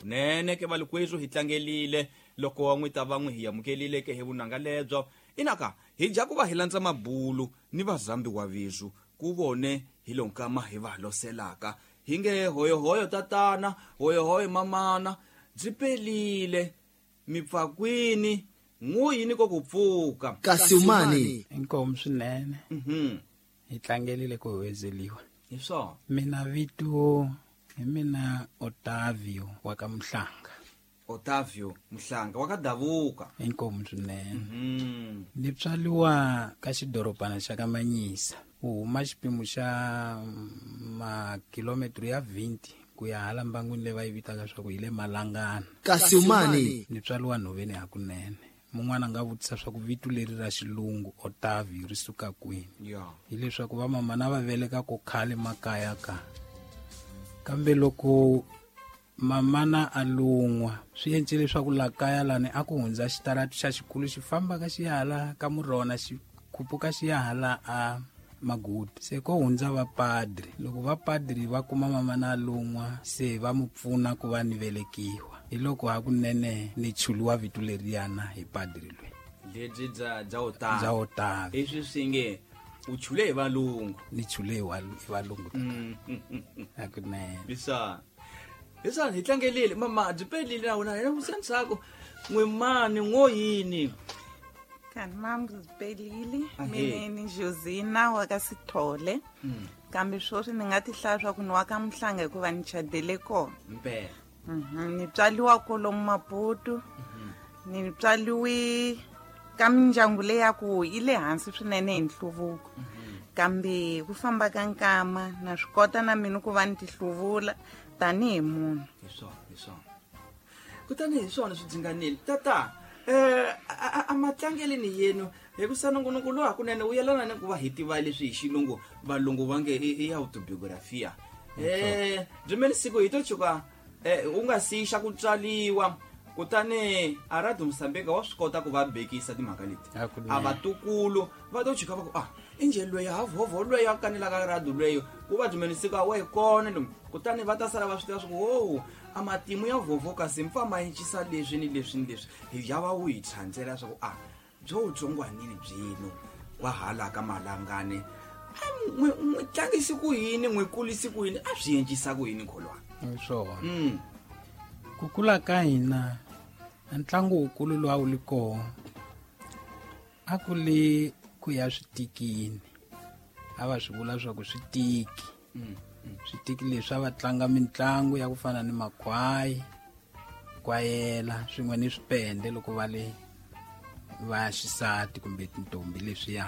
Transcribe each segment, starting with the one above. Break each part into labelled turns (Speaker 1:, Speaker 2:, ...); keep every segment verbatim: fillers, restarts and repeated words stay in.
Speaker 1: Kunene ke valikwethu hi tlangelile loko wa n'wi ta va n'wi hi amukelile ke hi vunanga lebyo. Inaka hi dya ku va hi landza mabulu ni vazambi wa vizu ku vone hi lonkama hi va loselaka. Hi nge hoyohoyo tatana, hoyohoyo mamana, byi pelile mipfakwini n'wini ko ku pfuka.
Speaker 2: Kasi umani?
Speaker 3: Inkomu swinene.
Speaker 1: Mhm.
Speaker 3: Hi tlangelile ku huwezeliwa.
Speaker 1: Hi swona.
Speaker 3: Mina vito hi mina Otavio wa ka Mhlanga.
Speaker 1: Otavio Mhlanga wa ka Davuka.
Speaker 3: Inkomu swinene.
Speaker 1: Mhm.
Speaker 3: Ni tswaliwa ka xidorobana xa ka Manyisa. U huma xipimo xa makilometro ya twenty ku ya hala mbangwini leyi va yi vitaka swa ku hi le Malangana.
Speaker 2: Kasi umani?
Speaker 3: Ni tswaliwa nhoveni hakunene. Mun'wana a nga vutisa swa ku vito leri ra xilungu Otavio ri suka kwini.
Speaker 1: Ya.
Speaker 3: Hileswaku va mama na va veleka ko khale makaya ka. Kambe loko mamana a lun'wa swi endle leswaku la kaya lani a ku hundza xitarati xa xikulu xi famba ka xi ya hala ka Murona xi khupuka xi ya hala a Magudu. Se ko hundza vapadri. Loko vapadri va kuma mamana a lun'wa se va mu pfuna ku va ni velekiwa. Hi loko hakunene ni chuliwa vito leriyana hi padri loyi.
Speaker 1: Lebyi bya bya Otavio.
Speaker 3: Bya Otavio.
Speaker 1: Leswi swi nge u chule hi valungu.
Speaker 3: Ni chule hi walu-, hi valungu.
Speaker 1: Mm.
Speaker 3: Hakunene.
Speaker 1: Hi swona. Hi swona hi tlangelile mama byi pelile na wena hina vusendzhaku n'wimani n'wo yini.
Speaker 4: Kanti mam byi pelile.
Speaker 1: Ahee.
Speaker 4: Mina ni Josina wa ka Sithole.
Speaker 1: Mm.
Speaker 4: Kambe sweswi ni nga ti hlaya swa ku ni wa ka Mhlanga hikuva ni chadele kona.
Speaker 1: Mpela.
Speaker 4: Mhm. Ni tswaliwa kolomu Maputo.
Speaker 1: Mhm.
Speaker 4: Ni tswaliwe ka mindyangu leyi ya ku yi le hansi swinene hi nhluvuko.
Speaker 1: Mhm.
Speaker 4: Kambe ku famba ka nkama na swi kota na mina ku va ni ti hluvula tanihi munhu.
Speaker 1: Hi swona, hi swona. Kutani hi swona swi dzinganile. Tata, eh, a, a, a matlangeleni yenu hi ku sanongonoko lowu hakunene wu yelana ni ku va hi tiva leswi hi xilungu valungu va nge i, i autobiografia. Eh, byi siku hi to tshuka, eh, u nga si xa ku tswaliwa kutani a Radio Mozambique wa swi kota ku va bekisa timhaka leti.
Speaker 3: Hakunene.
Speaker 1: A vatukulu va to tshuka va ku, ah, i njhe loyi ha vhovho loyi a kanelaka radio loyi ku va byi siku a wa hi kona lomu. Kutani va ta sala va swi tiva swa ku, ho, a matimu ya vhovho kasi mpfa ma encisa leswi ni leswi ni leswi. Hi ya va wu hi tshandzela swa ku, ah, byo tsongwanini byino wa hala ka Malangane. A n'wi, n'wi tlangisi ku yini, n'wi kulisi ku yini, a swi encisa ku yini kholwana?
Speaker 3: Hi swona.
Speaker 1: Mm.
Speaker 3: Ku kula ka hina a ntlangu wukulu lowu a wu li kona a ku li ku ya switikini. A va swi vula swa ku switiki.
Speaker 1: Mm, mm.
Speaker 3: Switiki leswi a va tlanga mitlangu ya ku fana ni makhwayi, kwayela swin'we ni swipende loko va le va xisati kumbe tintombi leswiya.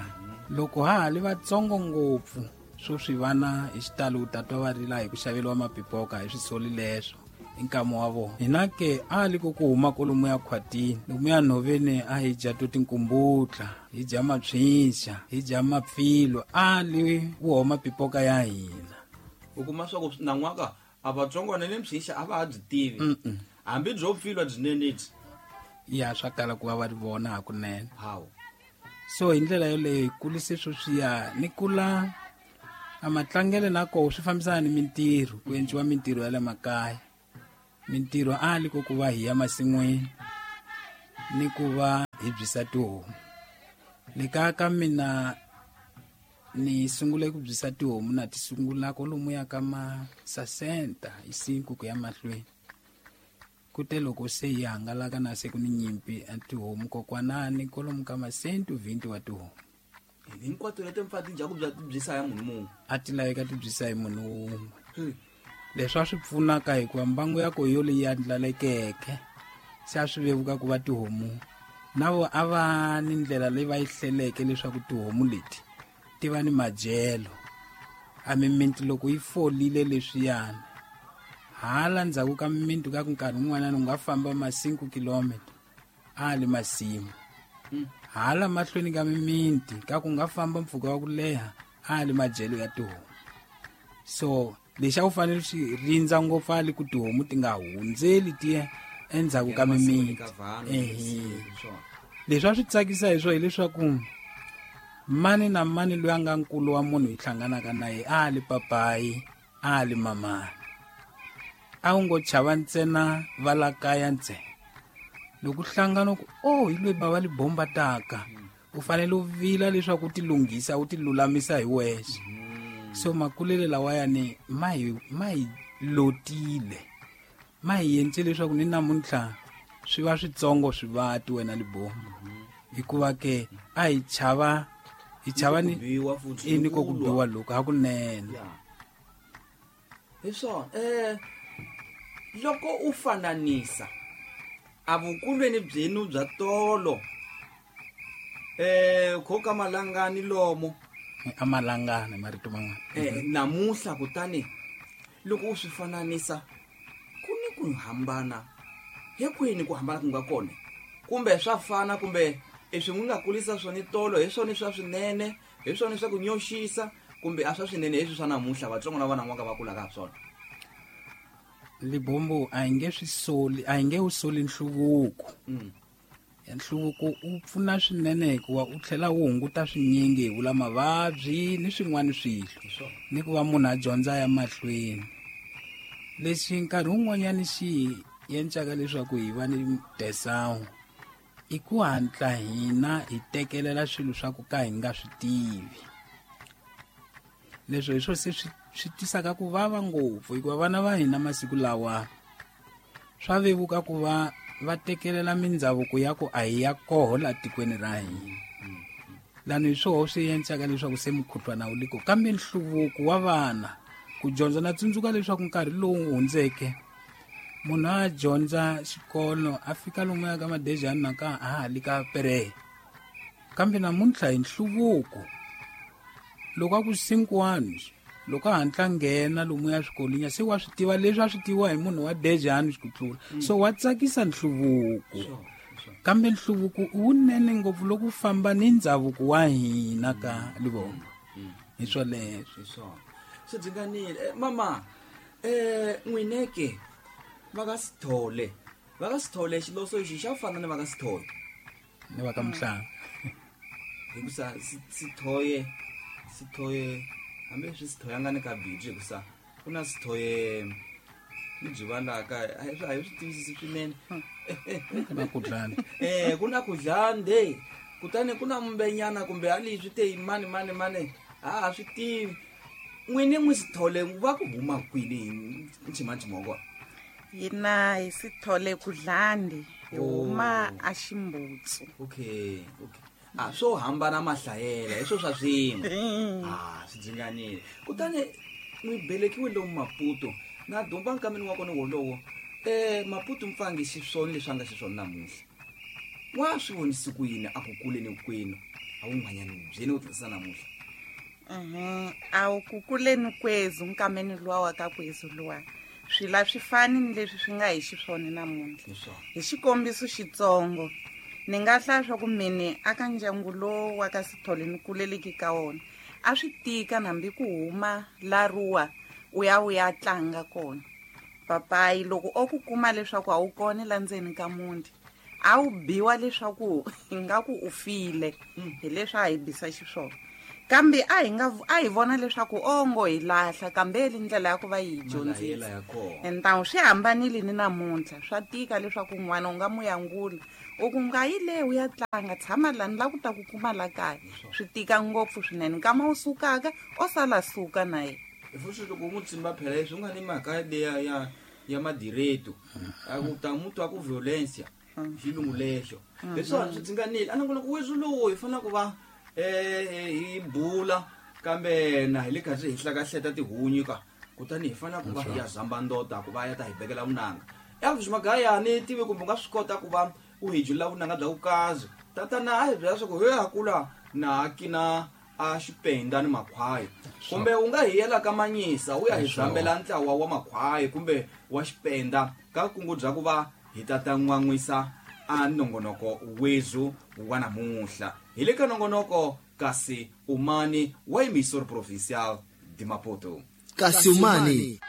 Speaker 3: Loko ha ha li vatsongo ngopfu swo swi vana hi xitalo u ta twa va rila hi ku xaveriwa mapipoka hi swisoli leswo i nkama wa vona. Hina ke a li ku ku huma kolomu ya khwatini lomu ya nhoveni a hi dya to tinkumbutla, hi dya mapyinxa, hi dya mapfilo, a li wu homa pipoka ya hina.
Speaker 1: U kuma swa ku nan'waka a vatsongwana ni mpyinxa a va ha byi tivi.
Speaker 3: Mm-mm.
Speaker 1: Hambi byo pfilwa byinene byi.
Speaker 3: Ya swa kala ku va va ri vona hakunene.
Speaker 1: Hawu.
Speaker 3: So hi ndlela yoleyo hi kulise sweswiya ni kula a matlangelo na koho swi fambisana ni mintirho, ku endliwa mintirho ya le makaya. Mintirho a li ku ku va hi ya masin'wini ni ku va hi byisa tihomu. Le kaya ka mina ni sungule ku byisa tihomu na ti sungula kwalomu ya ka ma sesenta hi cinco ku ya mahlweni. Kute loko se hi hangalaka na se ku ni nyimpi a tihomu kokwanani kwalomu ka ma cento vinte wa tihomu.
Speaker 1: Hinkwato leti mfa ti dya ku bya ti byisa ya munhu mun'we.
Speaker 3: A ti laveka ti byisa hi munhu wun'we.
Speaker 1: Hmm.
Speaker 3: Leswi a swi pfunaka hikuva mbangu ya koho yo leyi andlalekeke se a swi vevuka ku va tihomu na vo a va ni ndlela leyi va yi hleleke leswaku tihomu leti ti va ni madyelo. A mimiti loko yi folile leswiyani hala ndzhaku ka mimiti ka ku nkarhi wun'wanyana u nga famba ma cinco kilometer a li masimu.
Speaker 1: Hmm.
Speaker 3: Hala mahlweni ka mimiti ka ku nga famba mpfhuka wa ku leha a li madyelo ya tihomu. So lexi a wu fanele xi rindza ngopfu a li ku tihomu ti nga hundzeli ti ya endzhaku ka
Speaker 1: Ya masimu
Speaker 3: mimiti.
Speaker 1: ka vanhu,
Speaker 3: Ehe.
Speaker 1: swona.
Speaker 3: Leswi a swi tsakisa hi swona hileswaku mani na mani loyi a nga nkulu wa munhu hi hlanganaka na yena a li papayi, a li mamani. A wu ngo chava ntsena va la kaya ntsena. Loko hlangana ku oh hi loyi bava Libombo taka, u fanele u vila leswaku u ti lunghisa u ti lulamisa hi wexe. So makulele lawayani ma hi ma hi lotile, ma hi endle leswaku ni namuntlha swi va switsongo swivati wena Libombo, hikuva ke a hi chava hi chava ni i ni ko ku biwa loko hakunene.
Speaker 1: Hi swona. Eh loko u fananisa a vukulweni byenu bya tolo eh khoka malangani lomo
Speaker 3: amalangana marito man'wana
Speaker 1: eh namuhla, kutani loko u swi fananisa ku ni ku hambana hi kwini ku hambana ku nga kona, kumbe swa fana, kumbe leswi n'wi nga kulisa swona tolo hi swona swa swinene, hi swona swa ku nyoxisa, kumbe a swa swinene hi swa namuntlha vatsongo na vana n'waka va kulaka ha swona?
Speaker 3: Libombo a hi nge swi soli, a hi nge wu soli nhluvuko. Nhluvuko u pfuna swinene hikuva u tlhela wu hunguta swinyingi, hi vula mavabyi ni swin'wana swilo, ni ku va munhu a dyondza ya mahlweni. Lexi nkarhi wun'wanyani xi endlaka leswaku hi va ni desawu i ku hatla hina hi tekelela swilo swa ku ka hi nga swi tivi. Leswo hi swo se swi swi tisaka ku vava ngopfu, hikuva vana va hina masiku lawa swa vevuka ku va va tekelela mindhavuko ya ku a hi ya koho la tikweni ra hina. Lani hi swoho swi endlaka leswaku se mukhuhlwana wu le ko. Kambe nhluvuko wa vana ku dyondza, na tsundzuka leswaku nkarhi lowu hundzeke munhu a dyondza xikolo a fika lomuya ka madejani na ka a ha li ka pereye, kambe namuntlha hi nhluvuko loko a ku cinco anos loko a hatla nghena lomuya swikolweni se wa swi tiva leswi a swi tiviwa hi munhu wa dejani ku tlula. So wa tsakisa nhluvuko, kambe nhluvuko wunene ngopfu loko u famba ni ndhavuko wa hina ka Libombo. Hi swoleswo.
Speaker 1: Hi swona swi dzinganile. Mama eh n'wineke va ka Sithole, va ka Sithole xiloso lexi xa fana ni va ka Sithole
Speaker 3: ni va ka Mhlanga,
Speaker 1: hikusa Sithoye Sithoye hambi swi Sithoyanga ni ka biji, hikusa ku na Sithoye ni byi valaka a hi swi tivisisi swinene.
Speaker 3: Ku na kudlani
Speaker 1: eh ku na kudlande, kutani ku na mbenyana kumbe a leswi te mani mani mani a ha swi tivi. N'wini n'wi Sithole va ku huma kwini nchimanchima wa kona?
Speaker 4: Hina hi Sithole kudlandi, hi huma a Ximbutsu.
Speaker 1: Okay, okay. A swo hambana mahlayela hi swo swa swin'we. Ah swi dzinganile. Kutani n'wi belekiwe lomu Maputo na domba nkameni wa kona wolowo. Eh Maputo mpfangi xiswona leswi a nga xiswona namuntlha, wa swi vonisi ku yini a ku kuleni kwenu a wun'wanyani byeni ku tlisa namuntlha?
Speaker 4: Mhm, a wu ku kuleni kwezu nkameni luwa wa ka kwezu luwa swila swi fani ni leswi swi nga hi xiswona namuntlha. Hi xikombiso xitsongo ni nga hlaya swa ku mene aka ndyangu lowu wa ka Sithole ni kuleleki ka wona a swi tika hambi ku huma laruwa u ya u ya tlanga kona. Papayi loko o ku kuma leswaku a wu kona la ndzeni ka muti a wu biwa leswaku ingaku u file, hi leswi a hi bisa xiswona. Kambe a hi nga a hi vona leswaku ongo hi lahla, kambe le ndlela ya ku va yi dyondzisa entawu swi hambanile ni namuntlha. Swa tika leswaku n'wana u nga mu yangula u ku nga yi le u ya tlanga, tshama lani la ku ta ku kuma la kaya. Swi tika ngopfu swinene, nkama u sukaka o sala suka na yena.
Speaker 1: Futhi loko u n'wi tsimba phela leswi u nga ni mhaka leya ya ya madireto a ku ta mu twa ku violencia xilungu lexo leswiwani swi dzinganile. A nongonoko weswi lowu hi fanele ku va eh hi bula, kambe na hi le karhi hi hlakahleta tihunyi ka, kutani hi fanele ku va hi ya zamba ndota ku va ya ta hi bekela vunanga. Elvis Magayani tivi kumbe u nga swi kota ku va u hi jula vunanga bya vukazi. Tatana a hi byela swa ku he ha kula na kina a xipenda ni makhwayi, kumbe u nga hi yela ka Manyisa u ya hi zambela ntlawa wa makhwayi kumbe wa xipenda ka kungu bya ku va hi tata n'wan'wisa a nongonoko wezu wa namuntlha. Hi le ka nongonoko kasi umani wa emisor provincial de Maputo.
Speaker 2: Kasi umani.